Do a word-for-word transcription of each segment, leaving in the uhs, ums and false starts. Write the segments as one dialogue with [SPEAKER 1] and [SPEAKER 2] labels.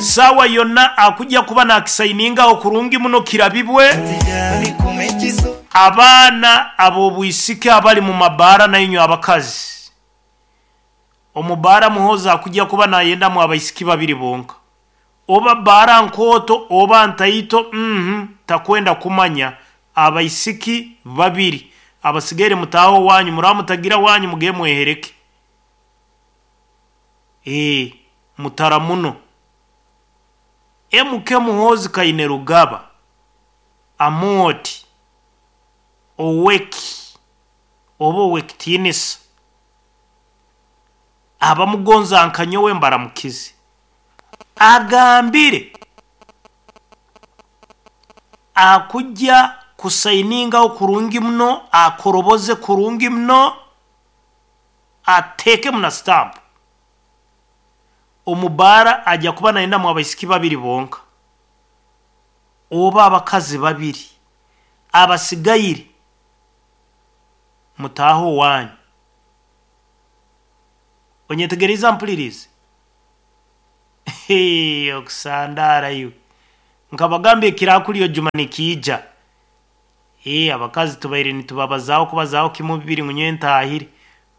[SPEAKER 1] Saawa yonna akujja kuba nakisayiningaho kurungi muno kirabibwe. Abaana ab'obwisiki abali mu mabaara, nainywe abakazi, omubaara Muhozi akujja kuba nayendamu abaisiki babiri bonka. Oba baara nkooto oba ntaito, mhm takwenda kumanya, abaisiki babiri, abasigaire mutaaho wanyu, muraba mutagira wanyu muge mwehereke. Ee mutara muno M K Muhozi Kainerugaba Amooti oweki oba owekitiinisa, abamugonza nka nyowe mbaramukize. Agambire akujja kusayiningaho kurungi muno, akoroboze kurungi muno, ateekemu na sitampu. Omubaara ajja kuba nayendamu abaisiki babiri bonka oba abakazi babiri, abasigaire mutaaho wanyu. Onyetegereza, mpulirize okusandara iwe nkabagamba ekirakulyo juma nikiija. Ee abakazi tubaire nitubabazaho kubazaho kimu bibiri ngu nyowe ntahire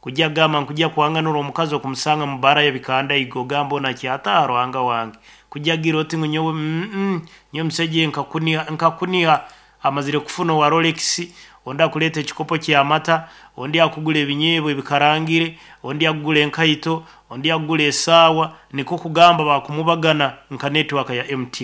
[SPEAKER 1] kujya gamba nkujya kuhanganura omukazi okumusanga mu baara ya bikanda igo ogamba onakyataha Ruhanga wange kujya gira oti ngu nyowe mm nyowe musajja nkakuniha nkakuniha amazire kufuna owa Rolex, ondi akuleeta ekikopo ky'amata, ondi akugura ebinyeebwa ebikarangire, ondi akugura enkaito, ondi akugura esaawa, nikwo kugamba bakumubagana nka network ya M T N.